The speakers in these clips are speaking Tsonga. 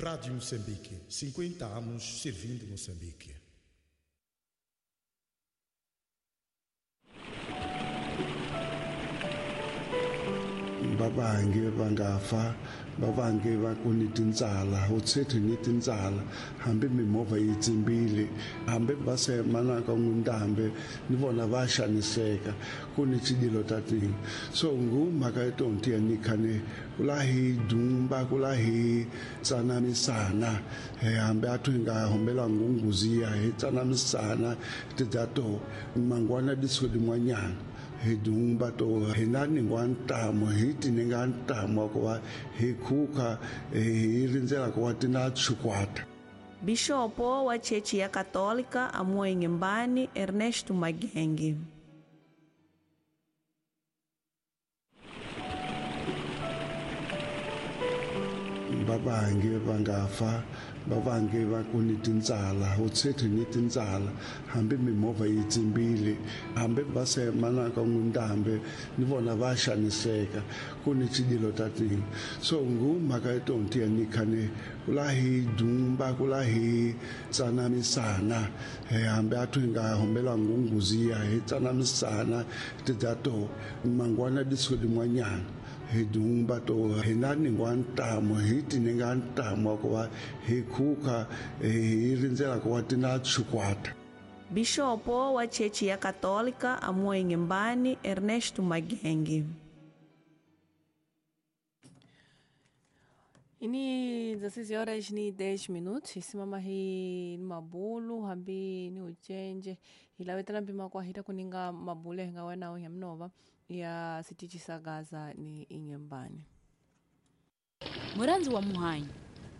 Rádio Moçambique, 50 anos servindo Moçambique. Vavangi va nga fa, vavangi va ku ni tintsala, u tsheti ni tintsala, hambi mimovha yi tsimbile, hambi va se manaka n'windambe ni vona va xaniseka, ku ni tshidilo ta tini. So ngu mhaka ya tonti ya ni khane kula hi dumba, kula hi tsanamisana, hambi a thu nga hombela ngunguziya hi tsanamisana tidzato mangwana disiko din'wanyana. Hi dumba to hi na ningwa ntamu, hi tininga ntamu wa ku va hi khuka, hi rindzela ku va ti na tshukwata. Bishopo wa Chechi ya Katolika Amoengimbani Ernesto Magenge. Vavangi va nga fa, vavangi va ku ni tintsala, u tsheti ni tintsala, hambi mimovha yi tsimbile, hambi va se manaka n'windambe ni vona va xaniseka, ku ni tshidilo ta tini. So ngu mhaka ya tonti ya ni khane kula hi dumba, kula hi tsanamisana, hambi a thu nga hombela ngunguziya hi tsanamisana tidzato mangwana disiko din'wanyana. Hi dumba to hi na ningwa ntamu, hi tininga ntamu wa ku va hi khuka, hi rindzela ku va ti na tshukwata. Bishopo wa Chechi ya Katolika Amoengimbani Ernesto Magenge. Ini 16 horas ni 10 minutos, isimama hi mabulu hambi ni uchenje hilawetela mpima kwa hita kuninga mabulu hinga wena ya mnova ya sitichi sa Gaza ni inyembani. Muranzi wa muhanyi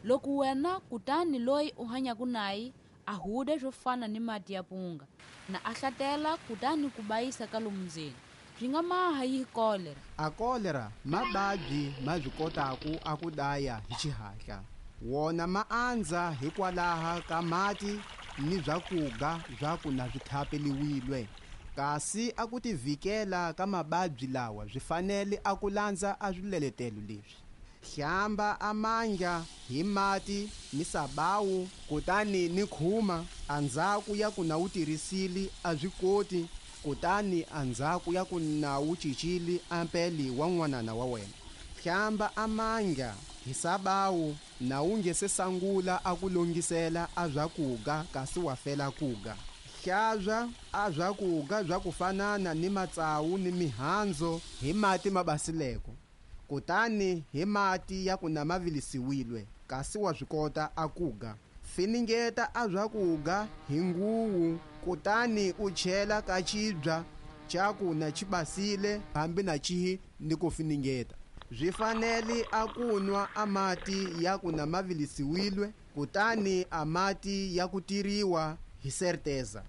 loko wena kutani loyi u hanyaku naye a huda swo fana ni mati ya punga na a hlatela kutani ku bayisa ka lomu ndzeni swi nga maha yi kolera. A kolera mababyi ma swi kotaku a ku daya hi xihatla, wona ma andza hikwalaha ka mati ni swakuga swa ku na swi thapeliwile. Kasi a ku tivikela ka mababyi lawa swi fanele a ku landza a swileletelo leswi: hlamba amandla hi mati ni sabawu kutani ni khuma, andzhaku ya ku na wu tirhisile a swi koti, kutani andzhaku ya ku na wu cincile ampeli wa n'wanana wa wena. Hlamba amandla hi sabawu na wu nge se sangula a ku longisela a swakuga kasi wa fela kuga. Hlantswa a swakuga swa ku fanana ni matsawu ni mihandzu hi mati ma basileko, kutani hi mati ya ku na ma vilisiwile kasi wa swi kota a kuga. Finingeta a swakuga hi nguwu kutani u chela ka xibya xa ku na xi basile hambi na xihi ni ku finingeta. Swi fanele a ku nwa a mati ya ku na ma vilisiwile kutani a mati ya ku tiriwa hi certeza.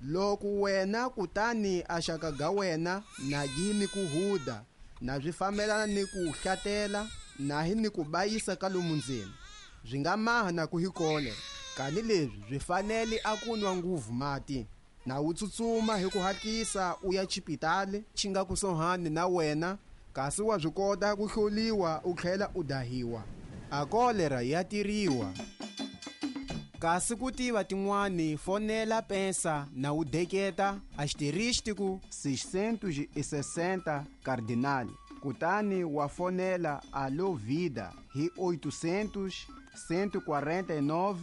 Loko wena kutani a xaka ga wena na yini ku huda na swi fambelana ni ku hlatela na hi ni ku bayisa ka lomu ndzeni, swi nga maha na ku hi kolera. Kani leswi swi fanele a ku nwa nguvu mati na wu tsutsuma hi ku hatlisa u ya xipitali xi nga kusuhani na wena, kasi wa swi kota ku hloliwa u tlhela u dahiwa. A kolera ya tiriwa. Kasi ku tiva tin'wani fonela pensa na wu deketa asterístico 660 cardinal, kutani wa fonela Alô Vida hi 800 149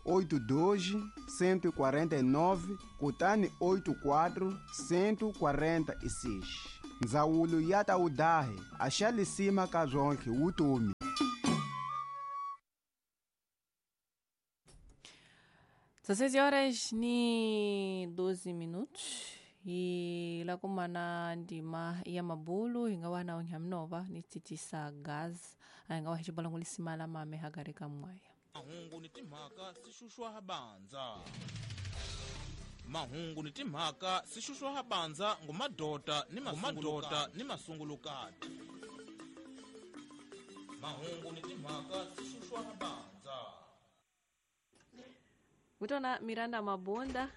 82 149 kutani 84 146. Ndzawulo ya ta wudahi a xa lisima ka zwonke wutomi. 16 horas ni 12 minutos e lá kuma na ndima ya mabulu hinga wana onyamnova ni titisa gas anga wa xibola ngulisima la mame hagare ka mwaya. Mahungu ni timhaka sixuxwa habandza. Mahungu ni timhaka sixuxwa habandza ngumadota ni mamadota ni masungulukati. Mahungu ni timhaka sixuxwa habandza. Mutona Miranda Mabunda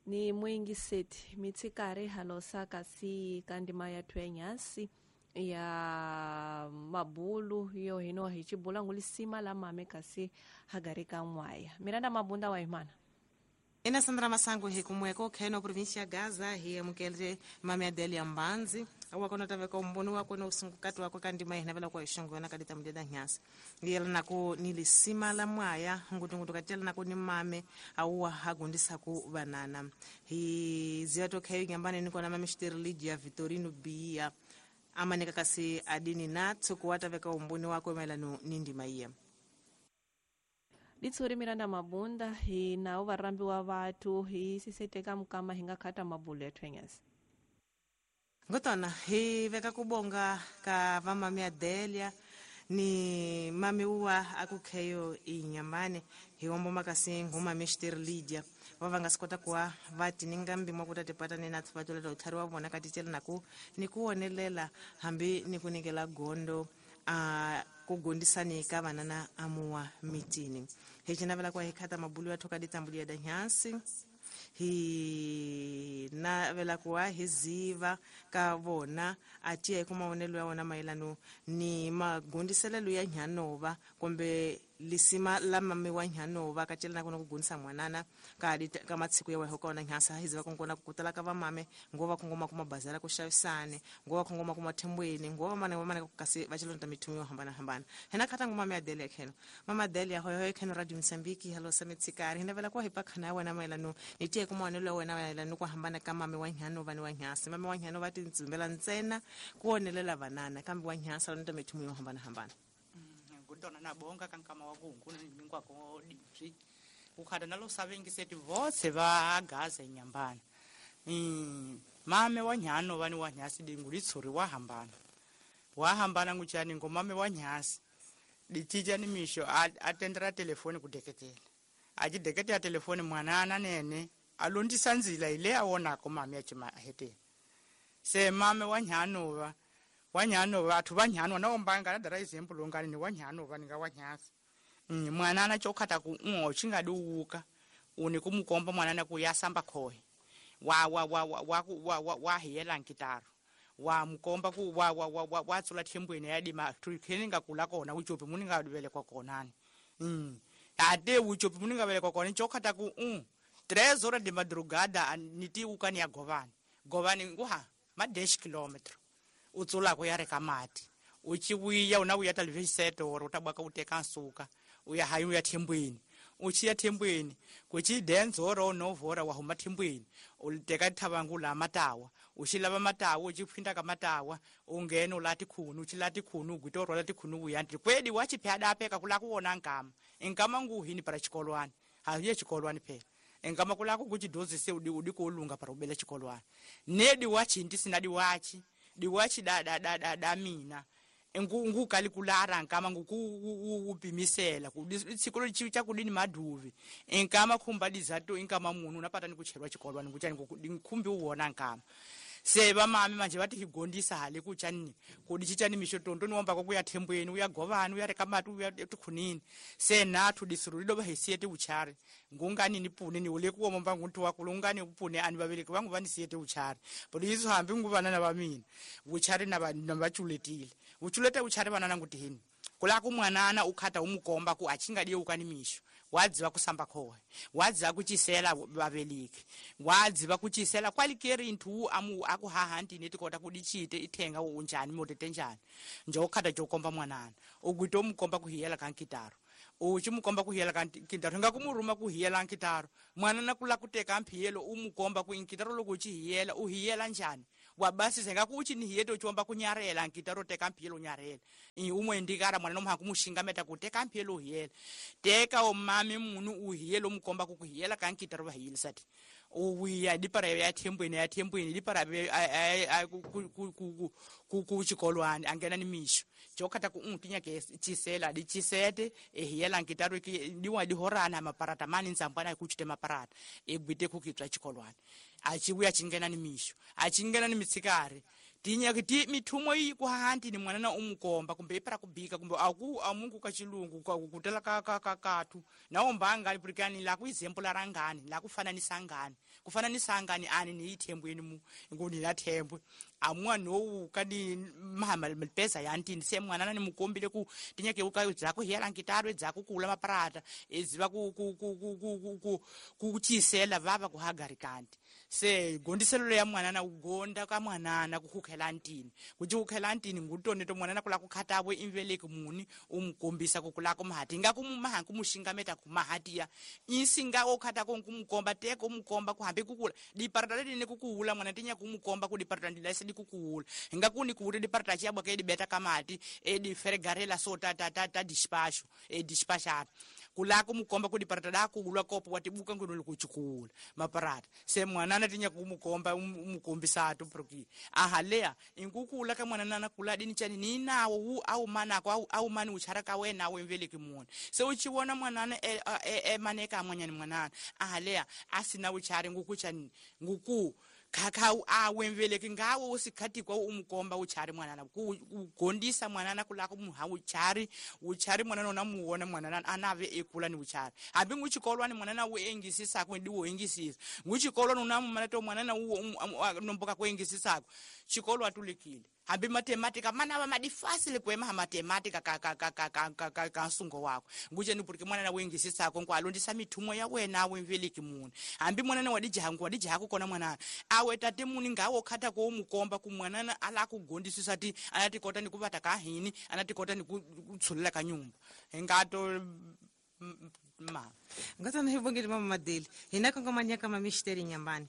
ni mwingi seti mitsikari halosa kasi kandima ya twenyasi Ya mabulu yo hino hi chibula ngulisima la mame kasi hagarika mwaya Miranda Mabunda wa imana. Ina Sandra Masango hi kumweko kheno provincia ya Gaza hi amukele mame Adelia Mbanzi awakona taveka umboni wako na usungukati wako kandima hinavela kwa ishongo na kadita mdeda nyasi yela nako nilisima la mwaya ngutungutu katela nako ni mame auwa hagundisa ku banana hi ziwato khayo nyambani niko na mame Shiterligia Vitorino Bia amanika kasi adini natso kuwataveka umboni wako maelano ni ndima iya. Ditsuri Miranda Mabunda hi na uvarambi wa vatu hi siseteka mukama hinga khata mabulu ya thwenyasi. Ngotona hi veka kubonga ka vamami Adelia ni mami uwa akukheyo inyamane hi wombo makasi nguma Mr. Lydia vavanga sikota kuwa vati ningambi mwakutatipata ni nathu vatoleta uthari wa vona katitela naku ni kuwonelela hambi ni kunikela gondo kugondisani ka vanana amuwa mitini hi cinavela kwa hi khata mabulu ya thoka ditambuli ya danyansi hi navela kuwa hi ziva ka vona atiya hi ku mavonelo ya wona mayelano ni magondiselelo ya nyanova kumbe lisima la mame wa nyanova ka cela na ku gundisa mwanana ka ka matshiku ya weho kona nyasa hi ziva kongona ku kutala ka vamame ngova kongoma kuma bazara ku xavisane ngova kongoma kuma thembweni ngova mana mana ku kasi va chelonta mithumo yo hambana hambana hina khata ngoma mame Adelia kheno mama Adelia hoyo hoyo kheno Radio Mozambique hello sametsikari hina vela ku hi pakhana ya wena mayelano ni tiye ku mavonelo ya wena mayelano ku hambana ka mame wa nyanova ni wa nyasa mame wa nyanova ti ntsimbela ntsena ku wonelela vanana kambe wa nyasa lonta mithumo yo hambana hambana. Ngutona nabonga kankama wakungu ningwako dipsi ukhada nalo savengiseti votse va Gaza inyambana mame wa nyano vani wa nyasi dingulitsuri wa hambana nguchani ngomame wa nyasi dichicha ni misho atendera telefoni kudeketela achideketela telefoni mwanana nene alondisa nzila ile awonako mame achima hete se mame wa nyano wanyano vathu vanyano na ombanga na dara example ongani ni wanyano vaninga wanyasi mwanana chokhata ku ngo chingadi uka uni kumukomba mwanana ku yasamba khohe wa wa wa wa wa wa wa hiyela nkitaro wa mukomba ku wa wa wa wa tsula thembweni ya dima thukeninga kula kona uchopi muninga dubele kwa konani ate uchopi muninga bele kwa kona chokhata ku 3 horas de madrugada niti ukani ya govani govani nguha ma 10 km utsula ku ya reka mati uchiwiya una uya television oro utabwaka uteka nsuka uya hayi uya thembweni uchiya thembweni kuchi dance oro novora wa huma thembweni uliteka thabangu la matawa ushilava matawa uchiphinda ka matawa ungena ulati khunu uchilati khunu ugwito lati khunu uyanti kwedi wachiphada apeka kula kuona nkama nkama nguhini para chikolwani haye chikolwani phela nkama kula kuchidozise udi udi kulunga para ubele chikolwani nedi wachinti sinadi wachi diwachi da da da da da mina ngukali kulara nkama ngukupimisela tsikolo chicha kudini maduvi nkama khumba dizato inkama munu unapata nikucherwa chikolwa nikuchani nkhumbi uwona nkama se vamami manje vati higondisa hale kuchani kudi chichani misho tondo niwomba kuya thembweni uya govani uya reka mati uya tikhunini se nathu disuru lido vahisiyete uchari ngungani ni pune ni ule kuwomba nguntu wakulu ungani upune ani vaveleki vangu vanisiyete uchari but izo hambi nguvanana va mina uchari na vachuletile uchulete uchari vanana nguti hini kula kumwanana ukhata umukomba ku achingadiye ukani misho wadziva kusamba khohe wadziva kuchisela vaveleki wadziva kuchisela kwalikeri inthu amu akuhahantini tikota kudichite ithenga unjani motete njani njokhata jokomba mwanana ugwite umukomba kuhiyela kankitaro uchimukomba kuhiyela kankitaro ngakumuruma kuhiyela nkitaro mwanana kula kuteka mphiyelo umukomba kuinkitaro loko uchihiyela uhiyela njani wabasise ngakuuchinihiyete uchiwomba kunyarela nkitaro teka mphiyelo unyarela umwendikara mwana nomha kumushingameta kuteka mphiyelo uhiyela teka omami munu uhiyela umukomba kukuhiyela kankitaro vahiyelisati uwiya dipara ya thembweni ya thembweni dipara kuchikolwani angena ni misho chokhata ku tinyake chisela dichisete ehiyela nkitaro diwa dihorana maparata mani ntsambwana kuchite maparata egwite kukitswa chikolwani achibuya chingena ni misho achingena ni mitsikari Tinyaki ti mithumo yi ku hanti ni mwanana umukomba kumbe ipara kubika kumbe aku amungu ka chilungu ka kutela ka ka ka kathu na ombanga lipurikani la ku example rangani la kufananisa ngani kufananisa ngani ani ni ithembweni mu ngoni la thembwe amwa no ka ni mahama pesa ya ntini se mwanana ni mukombile ku tinyake uka dzako hela nkitaro dzako kula maparata eziva ku ku ku ku ku ku ku chisela vava ku hagarikanti se gondiselo ya mwanana ugonda ka mwanana kukhela ntini kuti kukhela ntini ngutone to mwanana kula kukhatabo imveleki muni umkombisa kukula kumhati ngakumaha kumushingameta kumahatiya insinga okhata kumukomba teko umukomba kuhambe kukula diparata lene kukuula mwana tinya kumukomba kudiparata ndilase dikukuula ngakuni kuuti diparata chiyabwa ke dibeta kamati ediferegarela so ta ta ta ta dispatch edispatchata kula kumukomba kudiparata dakuulwa kopo watibuka ngunulu kuchikuula maparata se mwanana tinya kumukomba umukombisa atu proki ahalea inkukula ka mwanana kula dini chani ninawo wu au manako au mani uchara ka wena wemveleki muni se uchiwona mwanana maneka amwanyani mwanana ahalea asina uchari nguku chani nguku khakha awemveleki ngawo usikhathi kwa umukomba uchari mwanana kugondisa mwanana kulako muha uchari uchari mwanana unamuona mwanana anave ekula ni uchari hambi nguchikolwani mwanana uengisisako ndiwo engisisa nguchikolwani unamumana to mwanana nomboka kuengisisako chikolo atulikile hambi matematika mana va madifasile kuema ha matematika ka ka ka ka ka ka ka nsungo wako ngucheni purike mwanana wengisisako nkwalondisa mithumo ya wena awemveleki muni hambi mwanana wadijaha wadijaha kukona mwanana awe tate muni ngawo khata ko mukomba ku mwanana ala kugondisisa ti anatikota ni kuvata ka hini anatikota ni kutshulela ka nyumba hingato ma ngatana hi vongeli mama Madeli hina kongomanyaka mamisteri nyambani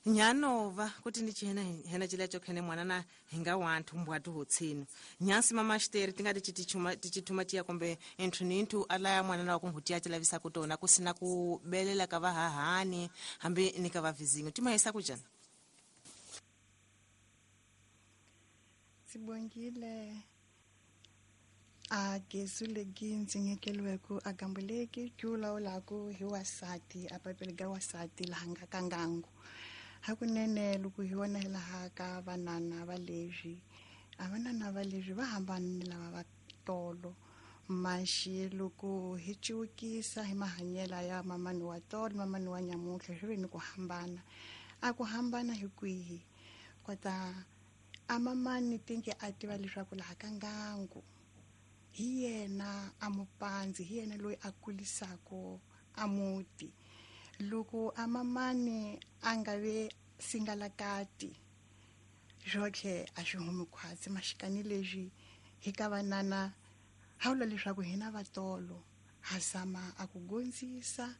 nyanova kuti ndichihena hena chila chokhene mwanana hinga wanthu mbwatu hotsino nyansi mamasteri tingati chitichuma tichithuma chiya kumbe inthu ni inthu alaya mwanana wa kunhuti chilavisa kutona kusina kubelela ka vahahani hambi ni ka vavizingo timahisa kujana Sibongile a gezule ginzi nyekelweko a gambuleki kyulawulaku hi wasati a papele ga wasati laha ka ngangu hakunene loko hi vona hi laha ka vanana va leswi a vanana va leswi va hambana ni lava va tolo maxi loko hi ciwukisa hi mahanyela ya mamani wa tolo mamani wa nyamutlha swi ve ni ku hambana a ku hambana hi kwihi kota a mamani tinge a tiva leswaku laha ka ngangu hi yena a mupanzi hi yena loyi a kulisako a muti loko a mamani a nga ve singalakati swotlhe a swi humi khwatsi maxikani leswi hi ka vanana hawula leswaku hina vatolo ha zama a ku gondzisa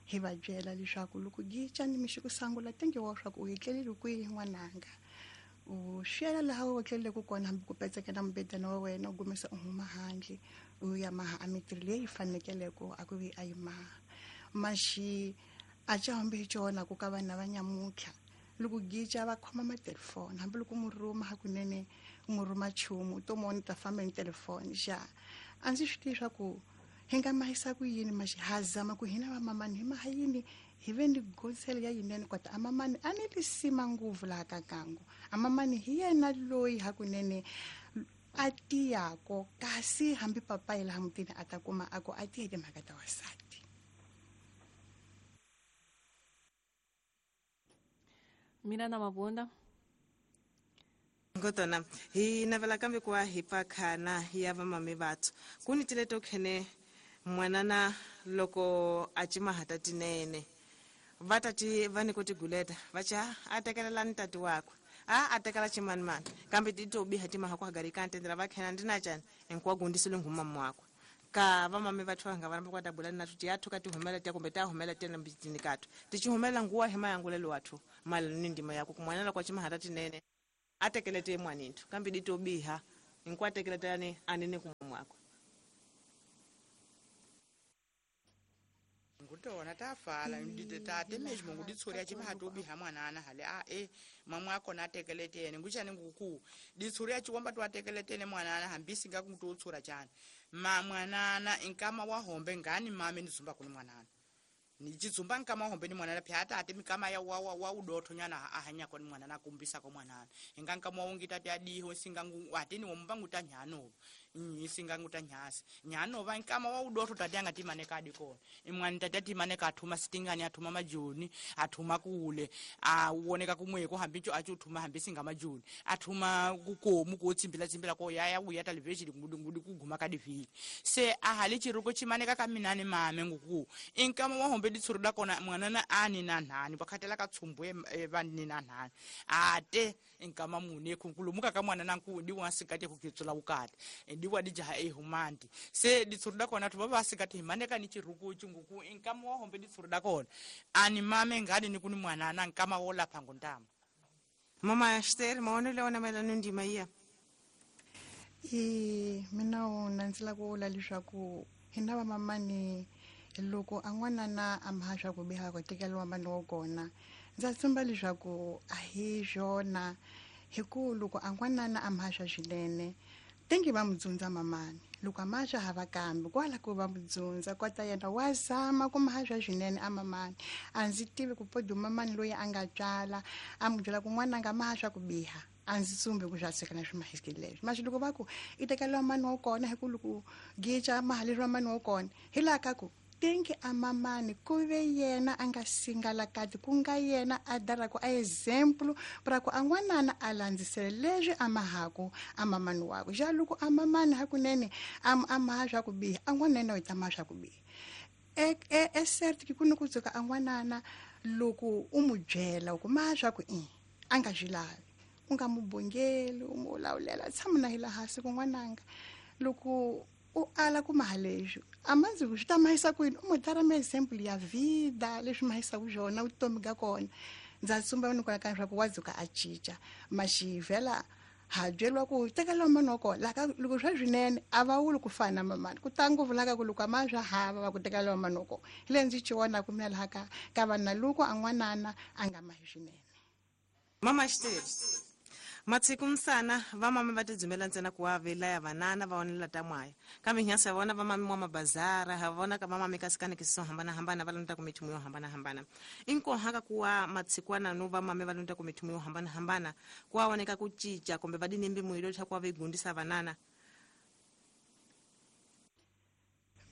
hi va byela leswaku loko gica ni mixi ku sangula tenge wa swa ku u etlelile kwihi n'wananga u xela laha u etleleke kona hambi ku petseke na mubedana wa wena u gumisa u huma handle u ya maha a mitirho leyi fanekeleko a ku vi a yi maha maxi a ca hambi hi cona ku ka vana va nyamutlha loko gica va khoma matelefoni hambi loko mu rhuma hakunene mu rhuma nchumu u to mona ta famba ni telefoni xa a ndzi swi tivi swa ku hi nga mahisa ku yini maxi ha zama ku hina vamamani hi maha yini hi ve ni gonsele ya yinene kota amamani a ni lisima nguvu laha ka ngangu amamani hi yena loyi hakunene a tiyako kasi hambi papayi laha mutini a ta kuma a ku a tiye timhaka ta wasati. Miranda Mabunda ngotona hi navela kambe kuwa hi pakhana ya vamame vathu kuni tileto khene mwanana loko a cimahata tinene vatati va ni ku tiguleta va ca a tekelelani tati wakwe a tekela chimanimani kambe ti to biha timaha ku hagarika ntendela va khena ndina cani hinkwa gundisile nghumama wakwe ka vamame vathu va nga va kwa tabula na tuti yathu ka tihumela tiya kumbe ta humela tiya mbitini kathu tichihumela nguwa hema yangulelo wathu mali ni ndima yako kumwanana kwa chimahata tinene a tekelete mwaninthu kambe di to biha hinkwa tekeletani anene kumama wakwe. Ngutona tafala tate mesmo nguditsuri achimaha mwanana hale a e mamwe akona atekeletene nguchani nguku ditsuri achiwomba twatekeletene mwanana hambisi ngakutotsura chani ma mwanana inkama wahombe ngani mame ndizumba kuni mwanana Ni chitsumba nkama hombe ni mwanana pya tate mikama ya wa wa udotho nyana ahanya kwa ni mwanana kumbisa kwa mwanana inga nkama wongi tate adiho singa atini wombangu tanyano isinga ngutanyasi nyano va nkama wa udotho tate anga timane kadi kona imwani tate timane kathuma sitingani athuma majoni athuma kule a uoneka kumweko hambicho achuthuma hambisinga majoni athuma kukomu kotsimbila tsimbila ko yaya uya television ngudi kuguma kadi vi se ahali chiruko chimaneka kaminani mame nguku inkama wa hombe ditsuru da kona mwanana ani na nhani vakhatela ka tsumbu vanni na nhani ate inkama mune kunkulumuka ka mwanana nku diwa sikati kukitsula ukati diwa dijaha ehumandi se ditsuru da kona thuba va sikati himaneka ni chiruko chinguku inkama wa hombe ditsuru da kona ani mame ngani ni kuni mwanana nkama wo lapha ngontama. Mama Esther maonelo ona mayelana ndima iya mina wona ndzi lava ku vula leswaku hina vamamani loko a n'wanana a maha swa ku biha ku tekeriwa mani wa kona ndza tshemba leswaku a hi swona hi ku loko a n'wanana a maha swa swinene tengi va mudzundza mamani loko a maha swa hava kambe kwala ku va mudzundza kota yena wa zama ku maha swa swinene a mamani a ndzi tivi ku podu mamani loyi a nga tswala a mu byela ku n'wananga maha swa ku biha a ndzi tsumbi ku swa tshika na swi mahiski leswi maxi loko va ku i tekeriwa mani wa kona hi ku loko gica mahaleriwa mani wa kona hi laha ka ku tengi a mamani ku ve yena a nga singalakati ku nga yena a daraku a example pra ku a n'wanana a landzisele leswi a mahaku a mamani wakwe xa loko a mamani hakunene a maha swa ku biha a n'wanana u ta maha swa ku biha e cert ku ni ku tsuka a n'wanana loko u mu byela ku maha swa ku i a nga swi lavi u nga mu bongeli u mu lawulela tshama na hi laha hansi ku n'wananga loko u ala ku maha leswi a mandzi ku swi ta mahisa kwini u mu dara ma example ya vida leswi mahisaka swona vutomi ka kona ndza tsumba ni kona ka leswaku wa dzuka a cinca maxivhela ha byeriwa ku tekela mani wa kona laha loko swa swinene a va wuli ku fana na mamani ku ta ngopfu laha ka ku loko a ma swa hava va ku tekela mani wa kona hi leyi ndzi ci vonaka mina laha ka vanhu loko a n'wanana a nga mahi swinene. Mama Esther matsiku msana vamama va tidzumela ntsena ku wa velaya vanana va onela ta mwaya kambe nyasa vona vamami mwa mabazara ha vona ka vamami ka sikanekisiso hambanahambana va lonta ku mithumu yo hambanahambana inkohaka kuwa matsikwana no vamami va lonta ku mithumu yo hambanahambana ku wa voneka ku cinca kumbe va dinembi muyilo leswaku wa vegundisa vanana.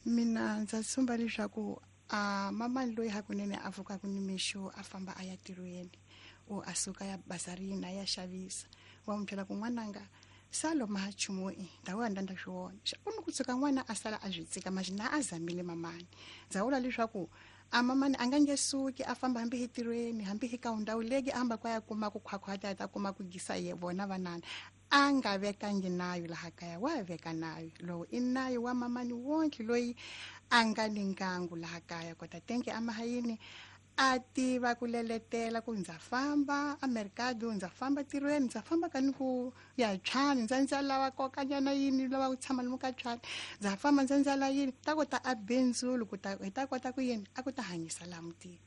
Mina ndza tsumba leswaku a mamani loyi hakunene a pfukaka nimixo a famba a ya tirhweni o a suka ya bazarini a ya xavisa wa mu byela ku n'wananga salo maha nchumu i ndhawu ya ndanda swi vona ku ni ku tshuka n'wana a sala a swi tsika maxi na a zamile mamani ndza vula leswaku a mamani a nga nge suki a famba hambi hi tirhweni hambi hi ka ndhawu leki a hamba kwa ya kuma ku khwakhwata ta kuma ku gisa ye vona vanana a nga vekangi nayo laha kaya wa veka nayo lowu i nayo wa mamani wonke loyi a nga ni ngangu laha kaya kota tenke a mahayini a tiva ku leletela ku ndza famba a mercado ndza famba tirhweni ndza famba ka ni ku ya tshani ndza lava kokanyana yini lava ku tshama lomu ka tshani ndza famba ndza la yini ta kota a bindzulu ku ta hi ta kota ku yini a ku ta hanyisa laha mutini.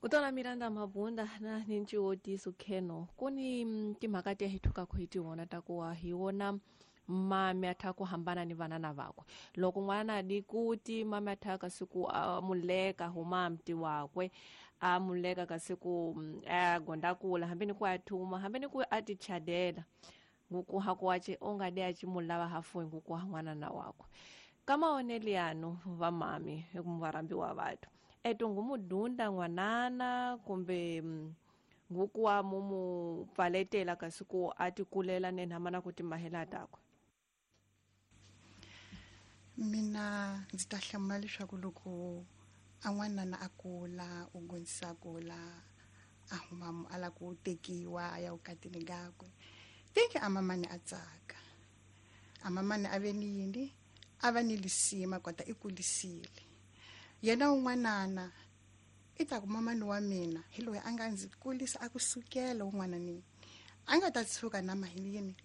Kutona Miranda Mabunda na ninchiwotiso kheno kuni timhaka ti hi thukaka hi tiwona ta ku wa hi wona mami a tha ku hambana ni vanana vakwe loko n'wana di kuti mami a tha kasi ku a muleka huma mti wakwe a muleka kasi ku a gonda kula hambi ni ku a thuma hambi ni ku a ti chadela nguku hakuwache onga de a chimulava hafu nguku ha n'wana na wakwe kama oneliano va mami ekumvarambiwa vathu eto ngumudunda n'wanana kumbe nguku wa mumu pfaletela kasi ku a ti kulela nenhamana ku ti mahela takwe. Mina ndzi ta hlamula leswaku loko a n'wanana a kula u gondzisa kula a huma a la ku tekiwa a ya vukatini kakwe teke a mamani a tsaka a mamani a ve ni yini a va ni lisima kota i kulisile yena un'wanana i ta ku mamani wa mina hi loyi a nga ndzi kulisa a ku sukela un'wananini a nga ta tshuka na mahini yini